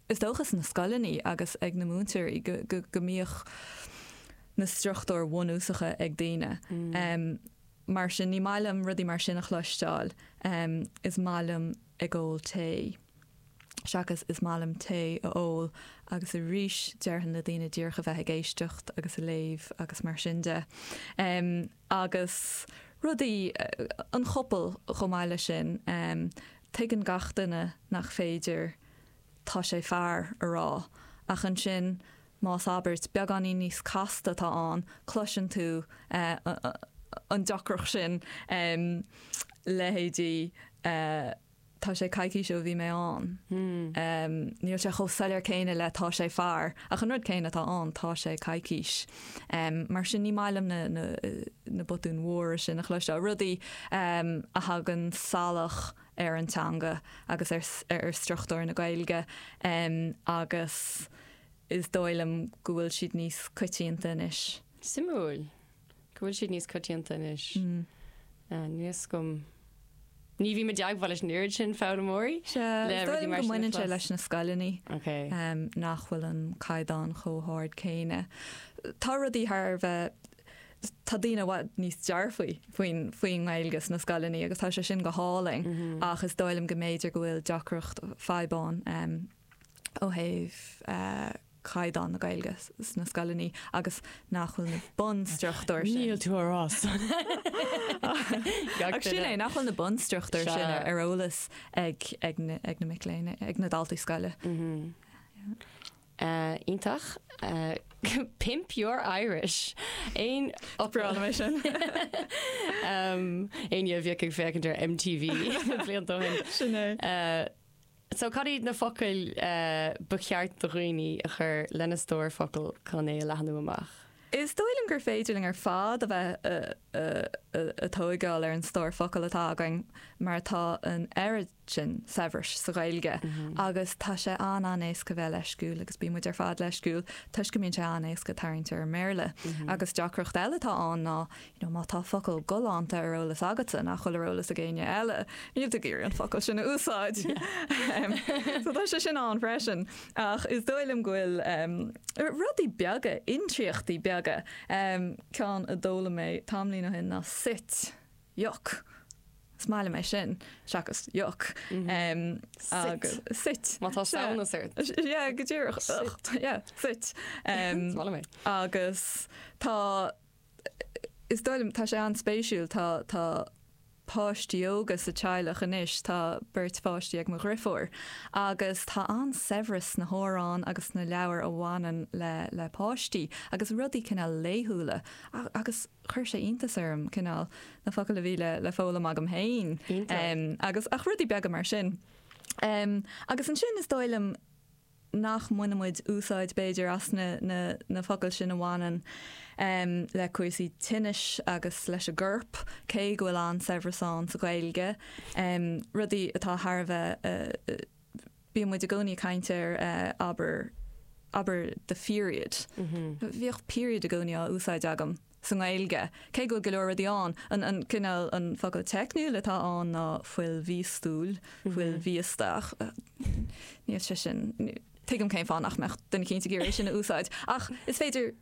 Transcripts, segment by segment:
Is dócha sna scoileanna agus ag na múinteoirí go, go, go mbíodh na struchtúir bhunúsacha ag daoine. Mar sin, ní maith liom rudaí mar sin a chloisteáil. Is maith liom ag ól tae. Seachas is maith liom tae a ól agus arís déarfainn le daoine díreach a bheith ag éisteacht agus a léamh agus mar sin de. Agus rudaí, an chopail chomh maith leis sin, tuigeann gach duine nach féidir tá sé fear a rá ach ansin más abairt beagáinín níos casta atá ann cloiseann tú an deacracht sin, leithéidí tá sé coicís ó bhí mé ann. Níl sé chomh soiléir céanna le tá sé fear, ach an rud céanna atá ann, tá sé coicís. Mar sin ní maith liom na botúin mhóra sin a chloisteáil, rudaí a thagann salach ar an teanga agus ar struchtúr na Gaeilge agus is dóigh liom go bhfuil siad níos coitianta anois. Suimiúil go bhfuil siad níos coitianta anois. Níl fhios agam. Ní bhím i dteagmháil leis an oiread sin foghlaimeoirí Sea, le is dóigh rudaí liom mar go sin a mbaineann sé chlos. leis na scoileanna Ok. nach bhfuil an caighdeán chomh hard céanna. Tá rudaí thar a bheith, tá daoine i bhfad níos dearfaí faoin faoin nGaeilge sna scoileanna agus tá sé sin go hálainn ach is dóigh liom go mb'fhéidir go bhfuil deacracht, fadhb ann ó thaobh caighdeán na Gaeilge sna scoileanna agus nach bhfuil na bunstruchtúir sin. Níl tú á rá san. Ach sin é, nach bhfuil na bunstruchtúir sin ar eolas ag ag na ag na mic léinn, ag na daltaí scoile. Iontach. Pimp your Irish. Aon Breá liom é sin. Éinne a bhíodh ag féachaint ar MTV blianta ó shin. Sin é. So cad iad na focail ba cheart do dhaoine a chur lena stór focal chun é a leathnú amach? Is dóigh liom gur féidir linn ar fad a bheith a' tóigeáil ar an stór focal atá againn mar tá an oiread sin saibhris sa Ghaeilge agus tá sé an-an-éasca bheith leisciúil agus bíonn muid ar fad leisciúil toisc go mbíonn sé an-éasca tarraingt ar an mBéarla. Agus deacracht eile atá ann ná You know, má tá focal galánta ar eolas agatsa nach bhfuil ar eolas ag éinne eile, níl tú ag iarraidh an focal sin a úsáid. So tá sé sin ann freisin. Ach is dóigh liom go bhfuil rudaí beaga, intriachtaí beaga. Ceann a d'fhoghlaim mé tamaillín ó shin ná sit, yuck. Is maith liom é sin, seachas yuck. Sit. Sit. Má tá samhnas ort. Yeah, go díreach. Sit. Yeah, sit. Is maith liom é. Agus tá. Is dóigh liom, tá sé an-spéisiúil, tá, tá páistí óga sa teaghlach anois, tá beirt pháistí ag mo dhrifiúr agus tá an-saibhreas sna hamhráin agus sna leabhair a bhaineann le, le páistí agus rudaí cineál laethúla agus chuir sé iontas orm cineál na focail a bhí le, le foghlaim agam féin agus, ach rudaí beaga mar sin. Agus ansin is dóigh liom, nach mbaineann muid úsáid, b'fhéidir, as na na focail sin a bhaineann le cúrsaí tinnis agus leis an gcorp, cé go bhfuil an-saibhreas ann sa Ghaeilge. Rudaí atá thar a bheith, bíonn muid i gcónaí ag caint ar, abair, abair the period. Bhíodh period i gcónaí á úsáid agam. sa nGaeilge, cé go bhfuil go leor rudaí ann. An, an cineál, an focal teicniúil atá ann ná fuil mhíostúil, fuil mhíosta, ach níl sé sin, tuigim cén fáth nach mbeadh duine eicínt ag iarraidh é sin a úsáid, ach is féidir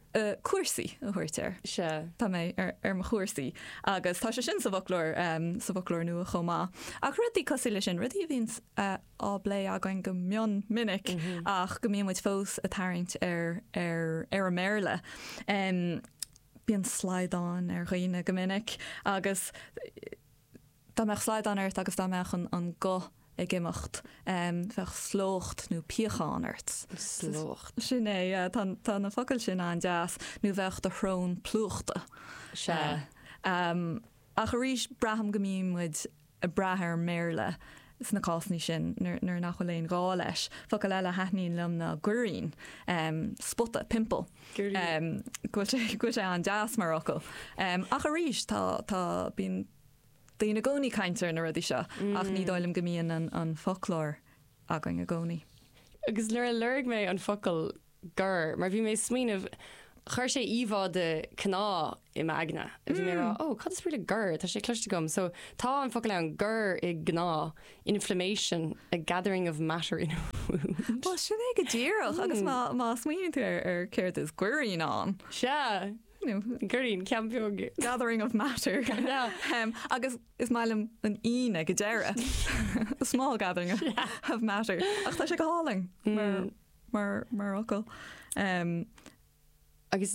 cúrsaí a thabhairt air. Sea. Tá mé ar, ar mo chúrsaí. Agus tá sé sin sa bhfoclóir, sa bhfoclóir nua chomh maith. Ach rudaí cosúil leis sin, rudaí a bhíonn á bplé againn go mion minic ach go mbíonn muid fós ag tarraingt ar ar ar an mBéarla. Bíonn slaghdán ar dhaoine go minic agus dá mbeadh slaghdán ort agus dá mbeadh an an guth ag imeacht bheadh slócht nó piachán ort. Slócht. Sin é, yeah, tá tá na focail sin an-deas. Nó bheadh do shrón plúchta. Sea. Ach arís braithim go mbíonn muid ag brath ar an mBéarla sna cásanna sin nuair nach bhfuil aon ghá leis. Focal eile a thaitníonn liom ná goirín, spota, pimple. Goirín. Go bhfuil sé, go bhfuil sé an-deas mar fhocal. Ach arís, tá, tá, bíonn daoine i gcónaí ag caint ar na rudaí seo ach ní dóigh liom go mbíonn an, an foclóir againn i gcónaí. Agus nuair a lorg mé an focal gor, mar bhí mé ag smaoineamh. Chuir sé íomhá de cneá i m'aigne. Bhí mé ag rá, oh, cad is brí le gor? Tá sé cloiste agam. So, tá an focal ann, gor i gcneá, inflammation, a gathering of matter in a wound. Bhuel, sin é go díreach, agus má, má smaoiníonn tú ar, ar céard is goirín ann. Sea, You know, goirín, ceann beag. Gathering of matter. Yeah. Um, agus is maith liom an ín ag an deireadh. A small gathering of matter. Ach tá sé go hálainn mar, mar, mar fhocal. Um, Agus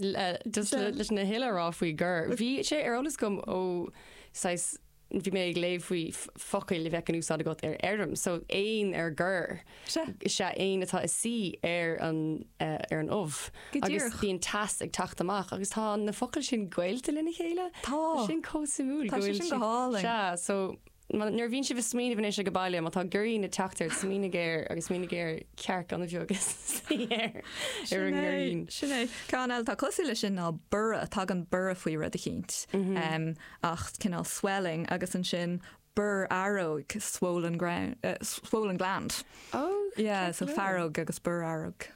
just leis na huile a rá faoi gor, bhí sé ar eolas agam ó saghas, bhí mé ag léamh faoi focail a bheadh in úsáid agat ar fheirm, so éan ar gor, is ea éan atá ag suí ar an ar an ubh. Go Agus díreach. bíonn teas ag teacht amach agus tá na focail sin gaolta lena chéile. Tá. Sin chomh suimiúil. Tá go sé bhfuil sin go hálainn. Sea, so Nuair a bhíonn sibh ag smaoineamh anois ag baile, má tá goirín ag teacht ort, smaoinigh air agus smaoinigh ar chearc an-bheag ag suí air, ar an ngoirín. Sin é. Ceann eile atá cosúil leis sin ná borradh, tagann borradh faoi rud eicínt. Ach cineál swelling agus ansin borrfhaireog, swollen ground, swollen gland. Oh, Yeah, so faireog agus borrfhaireog.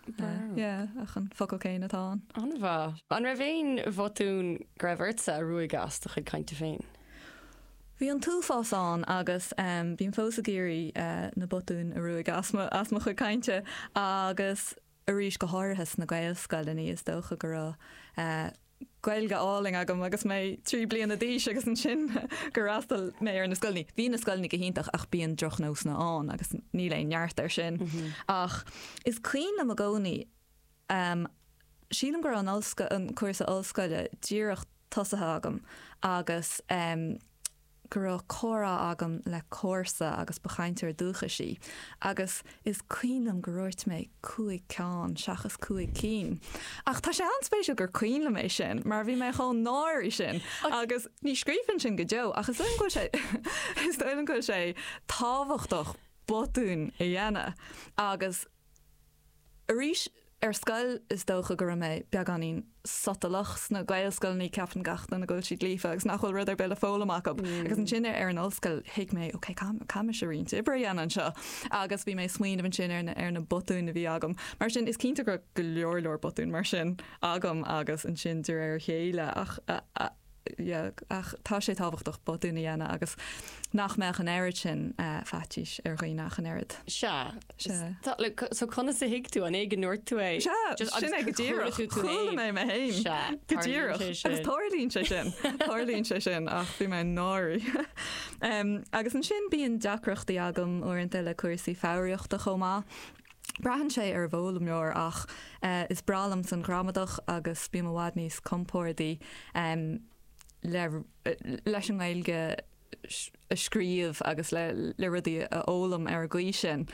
Yeah, ach an focal céanna atá ann. An-mhaith. An raibh aon bhotún go raibh ortsa a ruaigeadh as do chuid cainte féin? Bhí an t-uafás ann agus bím fós ag iarraidh na botúin a ruaigeadh as mo, as mo chuid cainte agus arís go háirithe sna Gaelscoileanna is dócha go raibh Gaeilge álainn agam agus mé 3 bliana d'aois agus ansin gur fhreastail mé ar na scoileanna. Bhí na scoileanna go hiontach ach bíonn drochnósanna ann agus níl aon neart air sin. Ach is cuimhin liom i gcónaí, Sílim go raibh an ollscoil, an cúrsa ollscoile díreach tosaithe agam agus go raibh comhrá agam le comharsa agus ba chainteoir dúchais í agus is cuimhin liom gur dhúirt mé cúig ceann seachas cúig cinn. Ach tá sé an-spéisiúil gur cuimhin liom é sin mar bhí mé chomh náirithe sin agus ní scríobhfainn sin go deo ach is dóigh liom go bhfuil sé is dóigh liom go bhfuil sé tábhachtach botúin a dhéanamh agus Arís, ar scoil is dócha go raibh mé beagáinín sotalach. Sna Gaelscoileanna ceapann gach duine go bhfuil siad líofa agus nach bhfuil rud ar bith le foghlaim acu. Agus ansin ar an ollscoil thuig mé, ok, caithfidh mise roinnt oibre a dhéanamh anseo. Agus bhí mé ag smaoineamh ansin ar na, ar na botúin a bhí agam. Mar sin, is cinnte go raibh go leor leor botúin mar sin agam agus ansin de réir a chéile ach, yeah, ach tá sé tábhachtach botúin a dhéanamh agus nach mbeadh an oiread sin faitís ar dhaoine ach an oiread. Sea. Sea. Tá, like, so conas a thuig tú? An é go ndúirt tú é? Sea, Just, sin agus é go gur chuala díreach. tú tú Chuala féin. mé mé féin. Sea, Go tarlaíonn díreach. sé sin. Agus tarlaíonn sé sin. Tarlaíonn sé sin ach bhí mé náirithe. Um, agus ansin bíonn deacrachtaí agam uaireanta le cúrsaí foghraíochta chomh maith. Braitheann sé ar an bhfoghlaimeoir ach is breá liomsa an ghramadach agus bím i bhfad níos compórdaí le leis an nGaeilge a scríobh agus le le rudaí a fhoghlaim ar an gcaoi sin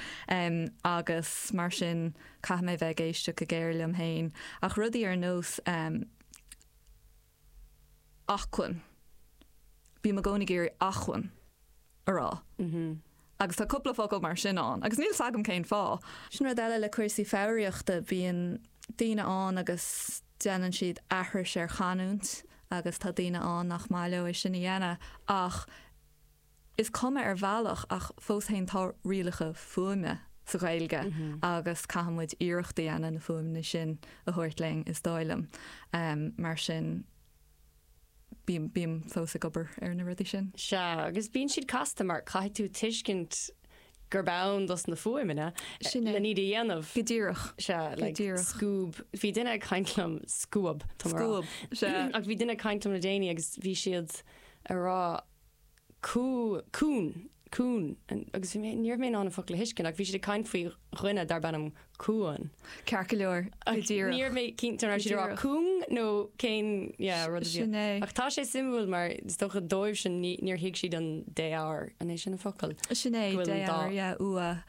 agus mar sin caithfidh mé bheith ag éisteacht go géar liom féin ach rudaí ar nós acmhainn. Bím i gcónaí ag iarraidh acmhainn a rá. Agus tá cúpla focal mar sin ann agus níl 's agam cén fáth. Sin rud eile le cúrsaí foghraíochta, bíonn daoine ann agus déanann siad aithris ar chanúint agus tá daoine ann nach maith leo é sin a dhéanamh ach is cuma ar bhealach ach fós féin tá rialacha fuaime sa Ghaeilge agus caithfidh muid iarracht a dhéanamh na fuaimeanna sin a thabhairt linn is dóigh liom. Mar sin bím, bím fós ag obair ar na rudaí sin. Sea, agus bíonn siad casta mar caithfidh tú tuiscint gurb ann dos na fuaimeanna Sin é. len iad a dhéanamh. Go díreach. Sea, Go like díreach. scuab. Bhí duine ag caint liom, scuab, tá mé a rá. Scuab, sea. Ach bhí duine ag caint liom le déanaí agus bhí siad ag rá Cú, cún, cún, agus bhí mé, ní raibh mé in ann an focal a thuiscint ach bhí siad ag caint faoi dhuine darb ainm Cuan. Ceart go leor, go díreach. Ní raibh mé cinnte an raibh siad ag rá cúng nó cén, yeah, rud a bhí. Sin é. Ach tá sé suimiúil mar is dócha dóibhsean ní, níor thuig siad an dé-r, an é sin an focal? Sin é, Go bhfuil an dé-r, yeah, ua.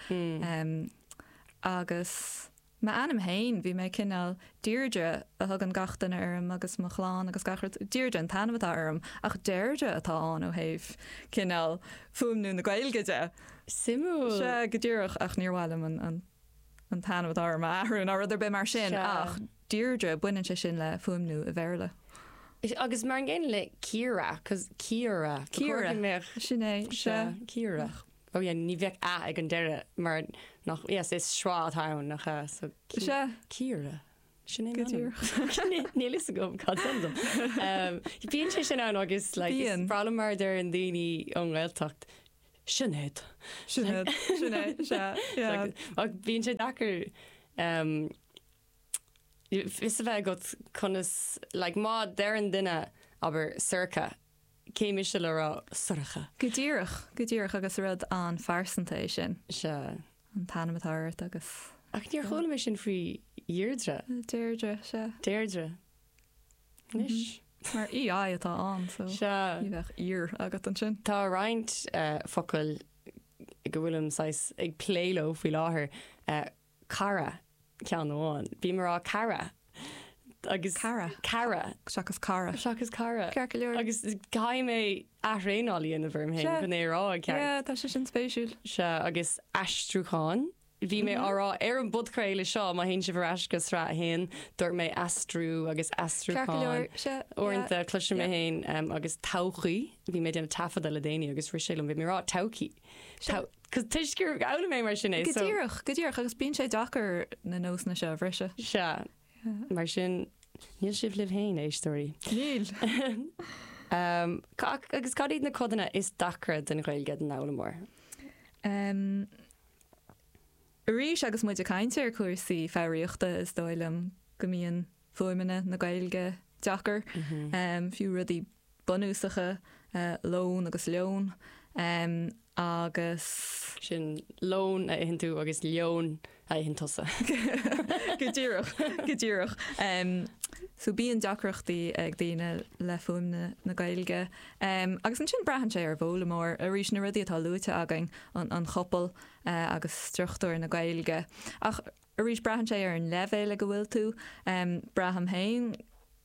Agus. M'ainm féin, bhí mé cineál, Deirdre a thugann gach duine orm agus mo chlann agus gach rud, Deirdre an t-ainm atá orm ach Deirdre atá ann ó thaobh cineál fuaimniú na Gaeilge de. Suimiúil. Sea, go díreach, ach níor mhaith liom an, an, an t-ainm atá orm a athrú ná rud ar bith mar sin Sea. ach Deirdre, baineann sé sin le fuaimniú i Bhéarla. Agus mar an gcéanna le Ciara, 'cause Ciara, ba chóir Ciara, go mbeadh, sin é, sea. sea, Ciara. Oh yeah, ní bheadh a ag an deireadh mar nach, yes, is schwa atá ann, nach ea? So, Sea. Ciara. Sin é m'ainm. Níl fhios agam cad is ainm dom. Bíonn sé sin ann agus like is breá liom mar a deireann daoine ón nGaeltacht, Sinéad. Sinéad, sin é, sea, yeah. Ach bíonn sé deacair fios a bheith agat conas, like má deireann duine, abair, Sorcha, cé mise le rá Sorcha? Go díreach, go díreach agus rud an-phearsanta é sin. Sea. An t-ainm atá ort agus. Ach níor chuala mé sin faoi Dheirdre. Deirdre, sea. Deirdre. Anois. Mar EI atá ann, so. Sea. Ní bheadh ear agat ansin. Tá roinnt focail go bhfuilim saghas ag plé leo faoi láthair. Cara, ceann amháin. Bím ag rá cara. Agus. Cara. Cara. Seachas cara. Seachas cara. Ceart go leor. Agus caithfidh mé aththraenáil a dhéanamh orm féin chun é a rá i gceart. Yeah, tá sé sin spéisiúil. Sea, agus aistriúchán. Bhí mé á rá ar an bpodchraoladh seo, má théann sibh ar ais go sraith a haon, dúirt mé aistriú agus aistriúchán. Ceart go leor, sea. Uaireanta cloisim mé féin agus todhchaí, bhí mé ag déanamh taifeadadh le déanaí agus rith sé liom, bhí mé ag rá todhchaí. Sea. Cos toisc gur fhoghlaim mé mar sin é. Go díreach, go díreach, agus bíonn sé deacair na nósanna seo a bhriseadh. Sea. Mar sin, níl sibh libh féin, a éisteoirí. Níl. Agus cad iad na codanna is deacra den Ghaeilge don fhoghlaimeoir? Arís, agus muid ag caint ar chúrsaí foghraíochta, is dóigh liom go mbíonn fuaimeanna na Gaeilge deacair, fiú rudaí bunúsacha, lón agus leon, agus. Sin lón a itheann tú agus leon a itheann tusa. Go díreach, go díreach. So bíonn deacrachtaí ag daoine le fuaimeanna na Gaeilge. Agus ansin braitheann sé ar an bhfoghlaimeoir. Arís, na rudaí atá luaite againn, an chopail agus struchtúr na Gaeilge. Ach Arís, braitheann sé ar an leibhéal ag a bhfuil tú. Braithim féin,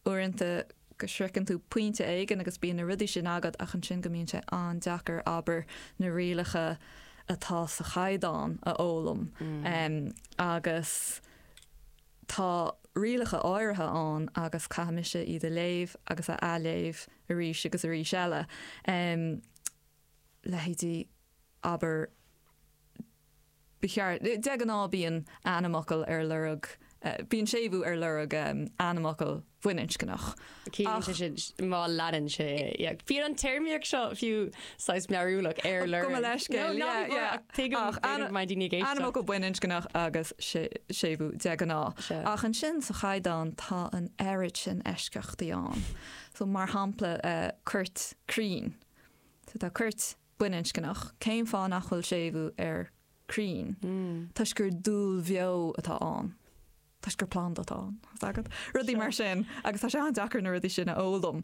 uaireanta, go sroicheann tú pointe éigin agus bíonn na rudaí sin agat ach ansin go mbíonn sé an-deacair, abair, na rialacha atá sa chaighdeán a fhoghlaim. Agus tá rialacha áirithe ann agus caithfidh mise iad a léamh agus a athléamh arís agus arís eile. Leithéidí, abair, Ba cheart, de ghnáth bíonn ainmfhocal ar lorg, bíonn séimhiú ar lorg ainmfhocal baininscneach. Ciallaíonn sé sin má leanann sé é. Yeah. Bíonn an téarmaíocht seo fiú saghas mearúlach ar lorg. Gabh mo leithscéal, yeah, yeah. Tuigim go mbeidh daoine ag éisteacht. Ainmfhocal baininscneach agus séimhiú de ghnáth. Ach ansin sa chaighdeán tá an oiread sin eisceachtaí ann. So mar shampla coirt crainn. So tá coirt baininscneach, cén fáth nach bhfuil séimhiú ar crainn? Toisc gur dúil bheo atá ann. Toisc gur planda atá ann. Tá a fhios agat? Rudaí mar sin. Agus tá sé an-deacair na rudaí sin a fhoghlaim.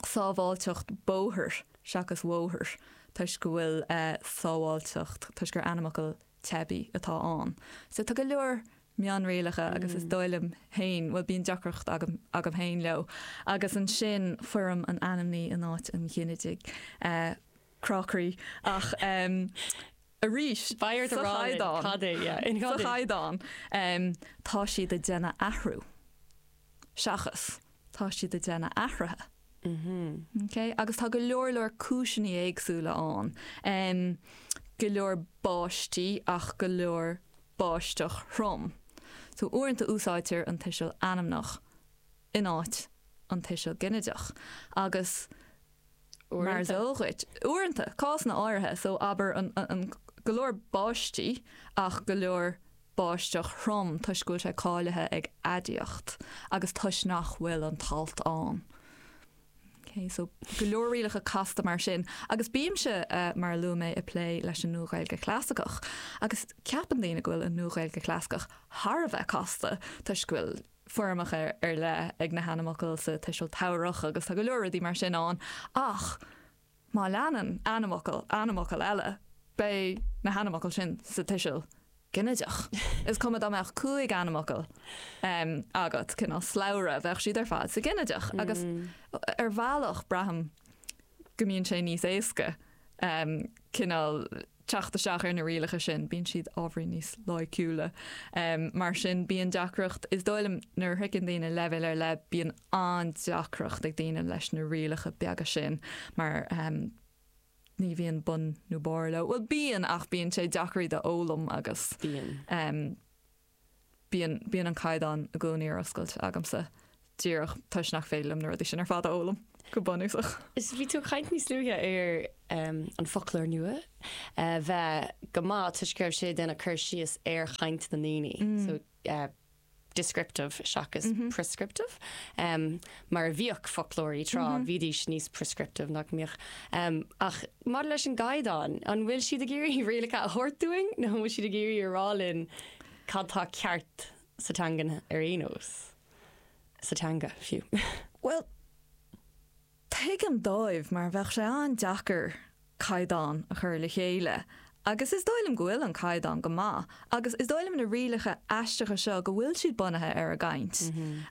Sábháilteacht bóthair seachas bhóthair toisc go bhfuil sábháilteacht, toisc gur ainmfhocal teibí atá ann. So tá go leor mionrialacha agus is dóigh liom féin, bhuel bíonn deacracht agam, agam féin leo. Agus ansin foirm an ainmní in áit an ghinidigh. Crá croí. Ach arís, sa chaighdeán, sa chaighdeán, tá siad ag déanamh athrú seachas tá siad ag déanamh athraithe. Ok? Agus tá go leor leor cúiseanna éagsúla ann. Go leor báistí ach go leor báisteach throm. So uaireanta úsáidtear an tuiseal ainmneach in áit an tuiseal ginideach. Agus mar is eol dhuit, uaireanta, cásanna áirithe, so abair an, an, go leor báistí ach go leor báisteach throm toisc go bhfuil sé cáilithe ag aidiacht agus toisc nach bhfuil an t-alt ann. Ok, so go leor rialacha casta mar sin. Agus bímse, mar a luaigh mé, ag plé leis an Nua-Ghaeilge Chlasaiceach. Agus ceapann daoine go bhfuil an Nua-Ghaeilge Chlasaiceach thar a bheith casta toisc go bhfuil foirmeacha ar leith ag na hainmfhocail sa tuiseal tabharthach agus tá go leor rudaí mar sin ann. Ach má leanann ainmfhocal ainmfhocal eile, beidh na hainmfhocail sin sa tuiseal ginideach. Is cuma dá mbeadh 5 ainmfhocal agat, cineál slabhra, bheadh siad ar fad sa ghinideach. Agus ar bhealach braithim go mbíonn sé níos éasca cineál teacht isteach ar na rialacha sin, bíonn siad ábhairín níos loighciúla. Mar sin bíonn deacracht, is dóigh liom nuair a shroicheann daoine leibhéal ar leith bíonn an-deacracht ag daoine leis na rialacha beaga sin mar ní bhíonn bun nó barr leo. Bhuel, bíonn, ach bíonn sé deacair iad a fhoghlaim agus. Bíonn. Bíonn, bíonn an caighdeán i gcónaí ar oscailt agamsa, díreach toisc nach féidir liom na rudaí sin ar fad a fhoghlaim, go bunúsach. Is bhí tú ag caint níos luaithe ar an foclóir nua a bheith go maith toisc go raibh sé ag déanamh cur síos ar chaint na ndaoine, so descriptive seachas prescriptive, mar a bhíodh foclóirí tráth, bhídís níos prescriptive nach mbíodh. Ach maidir leis an gcaighdeán, an bhfuil siad ag iarraidh rialacha a thabhairt dúinn nó an bhfuil siad ag iarraidh a rá linn cad tá ceart sa teangain ar aon nós? Sa teanga, fiú. Bhuel, tuigim dóibh mar bheadh sé an-deacair caighdeán a chur le chéile agus is dóigh liom go bhfuil an caighdeán go maith agus is dóigh liom na rialacha aisteacha seo go bhfuil siad bunaithe ar an gcaint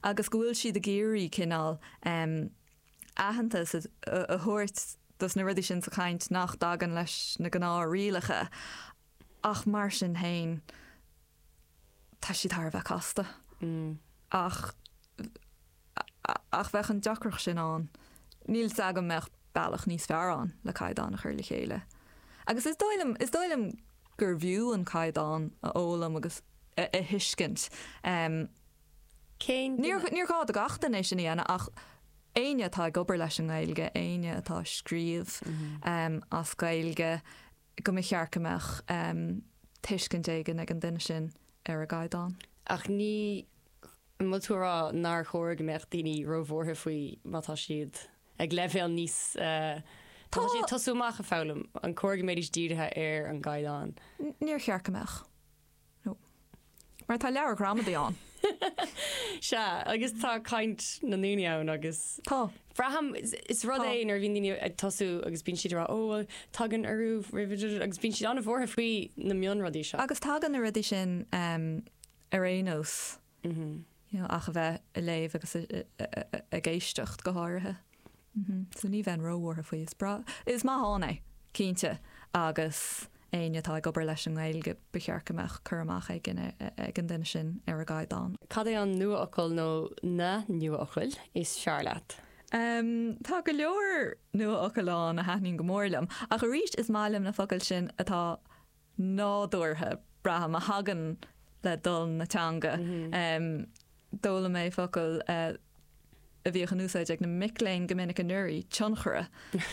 agus go bhfuil siad ag iarraidh cineál aitheantas a thabhairt dos na rudaí sin sa chaint nach dtagann leis na gnáth-rialacha ach mar sin féin tá siad thar a bheith casta. Ach ach bheadh an deacracht sin ann. Níl 's agam mbeadh bealach níos fearr ann le caighdeán a chur le chéile. Agus is dóigh liom, is dóigh liom gurbh fhiú an caighdeán a fhoghlaim agus a thuiscint. Cén Níor níor ghá do gach duine é sin a dhéanamh ach éinne atá ag obair leis an nGaeilge, éinne atá ag scríobh as Gaeilge, go mba cheart go mbeadh tuiscint éigin ag an duine sin ar an gcaighdeán. Ach ní, an bhfuil tú a rá nár chóir go mbeadh daoine róbhuartha faoi má tá siad ag leibhéal níos, má tá siad ag tosú amach ag foghlaim, an cóir go mbeidís dírithe ar an gcaighdeán? Níor cheart go mbeadh. No. Mar tá leabhar gramadaí ann. Sea, agus tá caint na ndaoine ann agus. Tá. Braithim, is rud é nuair a bhíonn daoine ag tosú agus bíonn siad ag rá, ó bhuel, tagann urú roimh, agus bíonn siad an-bhuartha faoi na mionrudaí seo. Agus tagann na rudaí sin ar aon nós. You know, ach a bheith ag léamh agus ag éisteacht go háirithe. So ní bheinn róbhuartha faoi. Is breá, is maith ann é, cinnte, agus éinne atá ag obair leis an nGaeilge, ba cheart go mbeadh cur amach éigin ag an duine sin ar an gcaighdeán. Cad é an nuafhocal nó na nuafhocail is fearr leat? Tá go leor nuafhocail ann a thaitníonn go mór liom, ach arís is maith liom na focail sin atá nádúrtha, braithim, a thagann le dul na teanga. D'fhoghlaim mé focal a bhíodh in úsáid ag na mic léinn go minic anuraidh, tionchaire,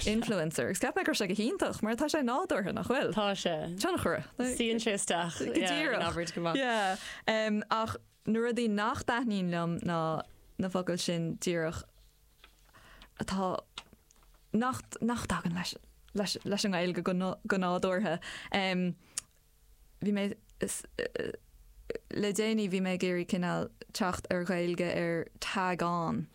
influencer, agus cheap mé go raibh sé go hiontach mar tá sé nádúrtha, nach bhfuil? Tá sé. Tionchaire. Suíonn sé isteach go díreach. In abairt go maith. Yeah. Ach na rudaí nach dtaitníonn liom ná na focail sin díreach atá, nach, nach dtagann leis, leis, leis an nGaeilge go, go nádúrtha. Bhí mé, le déanaí bhí mé ag iarraidh cineál teacht ar Ghaeilge ar tag on,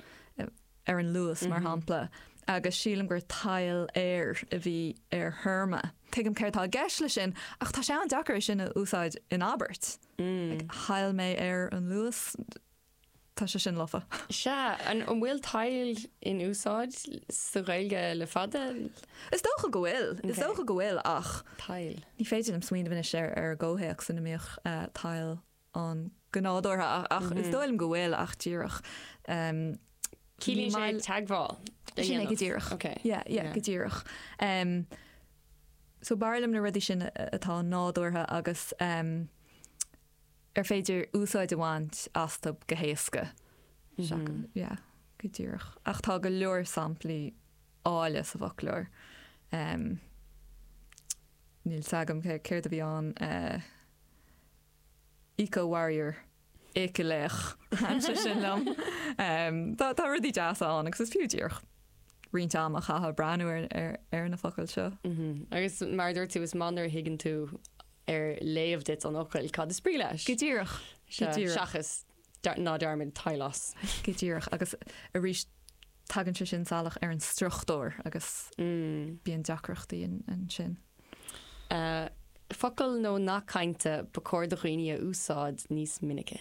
ar an Luas mar shampla, agus sílim gur tadhall air a bhí ar théarma. Tuigim céard tá i gceist leis sin ach tá sé an-deacair é sin a úsáid in abairt. Like, thadhall mé ar an Luas. Tá sé sin lofa. Sea, an bhfuil tadhall in úsáid sa Ghaeilge le fada? Is dócha go bhfuil, is dócha go bhfuil ach Tadhall. ní féidir liom smaoineamh anois ar ar an gcomhthéacs ina mbíodh tadhall ann go nádúrtha ach is dóigh liom go bhfuil ach díreach Ciallaíonn sé teagmháil a Sin é go díreach. Ok. Yeah, yeah, go díreach. So b'fhearr liom na rudaí sin atá nádúrtha agus ar féidir úsáid a bhaint astu go héasca. Yeah, go díreach. Ach tá go leor samplaí áille sa bhfoclóir. Níl 's agam céard a bhí ann, eco-warrior, éicealaoch, thaitin sé sin liom. Tá rudaí deasa ann agus is fiú díreach roinnt ama a chaitheamh ag breathnú ar na focail seo. Agus mar a dúirt tú, is maith nuair a thuigeann tú ar léamh duit an fhocail cad is brí leis. Go díreach. Go díreach. Seachas ná dearmad teaghlaigh. Go díreach. Agus arís tagann sé sin salach ar an struchtúr agus bíonn deacrachtaí ansin. Focal nó nath cainte ba chóir do dhaoine a úsáid níos minice.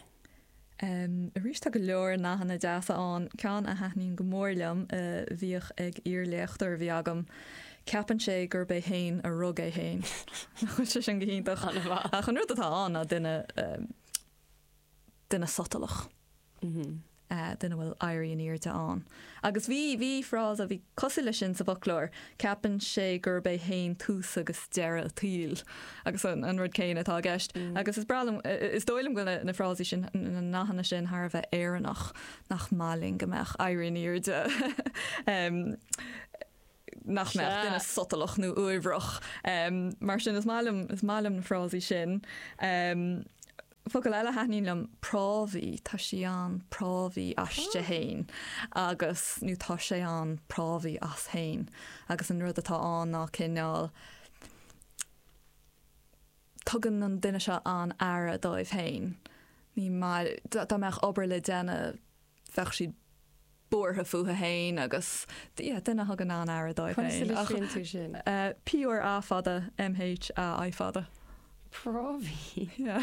Arís tá go leor nathanna deasa ann. Ceann a thaitníonn go mór liom a bhíodh ag iar-léachtóir a bhí agam, ceapann sé gurb é féin a rug é féin. Nach bhfuil sé sin go hiontach? An-mhaith. Ach an rud atá ann ná duine, duine sotalach. Duine a bhfuil éirí in airde ann. Agus bhí, bhí frása a bhí cosúil leis sin sa bhfoclóir, ceapann sé gurb é féin tús agus deireadh an tsaoil. Agus an, an rud céanna atá i gceist. Agus is breá liom, is dóigh liom go bhfuil na, na frásaí sin, na nathanna sin thar a bheith Éireannach, nach maith linn go mbeadh éirí in airde, nach mbeadh duine sotalach nó uaibhreach. Mar sin is maith liom, is maith liom na frásaí sin. Focal eile a thaitníonn liom, prámhaí, tá sí an-prámhaí aisti fhéin agus, nó tá sé an-prámhaí as fhéin agus an rud atá ann ná cineál, tugann an duine seo an-aire dóibh fhéin, ní maith, dá mbeadh obair le déanamh bheadh siad buartha fúthu fhéin agus, yeah, duine a thugann an-aire dóibh féin. Conas a litríonn tú sin? P R A fada M H A I fada. Prámhaí. Yeah.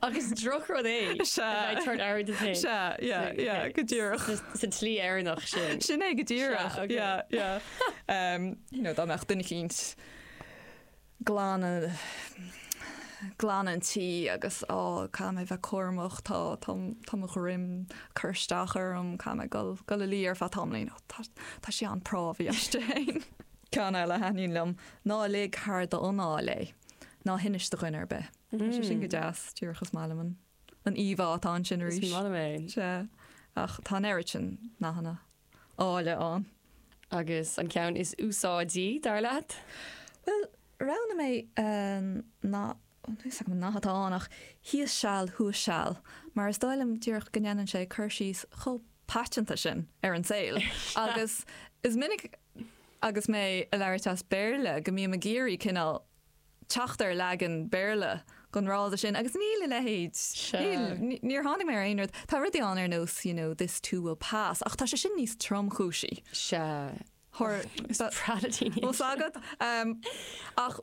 Ach is drochrud é. Sea. A bheith ag tabhairt aire duit féin. Sea, yeah, yeah, go díreach. Sa tslí Éireannach sin. Sin é go díreach. Sea, okay. Yeah, yeah. Um, you know, dá mbeadh duine eicínt glanadh glanadh an tí agus á caithfidh mé bheith cúramach tá tá tá mo dhroim cur isteach orm caithfidh mé dul dul a luí ar feadh tamaillín ó tá tá sí an-prámhaí aisti féin. Ceann eile a thaitníonn liom ná lig thar d'anáil é ná hinis do dhuine ar bith. Tá sé sin go deas díreach is maith liom an an íomhá atá ansin arís. Is maith liom é. Sea ach tá an oiread sin nathanna áille ann. Agus an ceann is úsáidí, dar leat? Bhuel, roghnaigh mé nath, níl fhios agam an nath atá ann ach thíos seal, thuas seal, mar is dóigh liom díreach go ndéanann sé cur síos chomh paiteanta sin ar an saol. Agus is minic agus mé ag labhairt as Béarla go mbím ag iarraidh cineál teacht ar leagan Béarla den fhrása sin agus níl a leithéid, níl, níor tháinig mé ar aon rud. Tá rudaí ann ar nós you know this too will pass ach tá sé sin níos tromchúisí. Sea. Is breá le daoine é sin. agat. Ach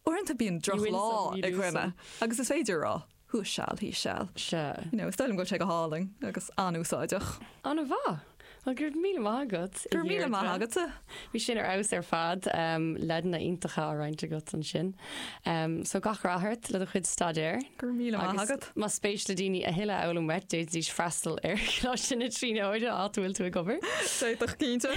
uaireanta bíonn drochlá ag dhuine agus is féidir a rá thuas seal, thíos seal. Sea. You know, is dóigh liom go bhfuil sé go hálainn agus an-úsáideach. An-mhaith. Bhuel, go raibh míle maith agat, a Go raibh míle maith Dheirdre. agatsa. Bhí sin ar fheabhas ar fad. Leideanna iontacha á roinnt agat ansin. So gach rath ort le do chuid staidéir. Go raibh míle maith Agus agat. más spéis le daoine a thuilleadh a fhoghlaim uait, d'fhéadfaidís freastal ar Choláiste na Tríonóide, áit a bhfuil tú ag obair. D'fhéadfadh, cinnte.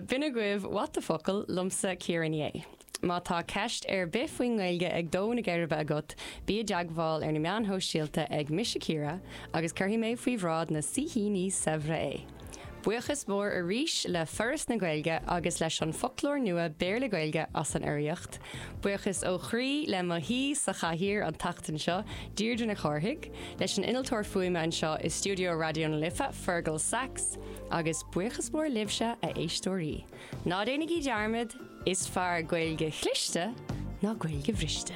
B'in agaibh What the Focal, liomsa Ciara Ní É. Má tá ceist ar bith faoin nGaeilge ag dó na geirbe agat, bí i dteagmháil ar na meáin shóisialta ag Mise Ciara agus cuirfidh mé faoi bhráid na saoithíní saibhre é. Buíochas mór arís le Foras na Gaeilge agus leis an Foclóir Nua Béarla-Gaeilge as an urraíocht. Buíochas ó chroí le mo shaoi sa chathaoir an tseachtain seo, Deirdre Nic Chárthaigh, leis an innealtóir fuaime anseo i stiúideo Raidió na Life, Fergal Sachs, agus buíochas mór libhse, a éisteoirí. Ná déanaigí dearmad, is fearr Gaeilge chliste ná Gaeilge bhriste.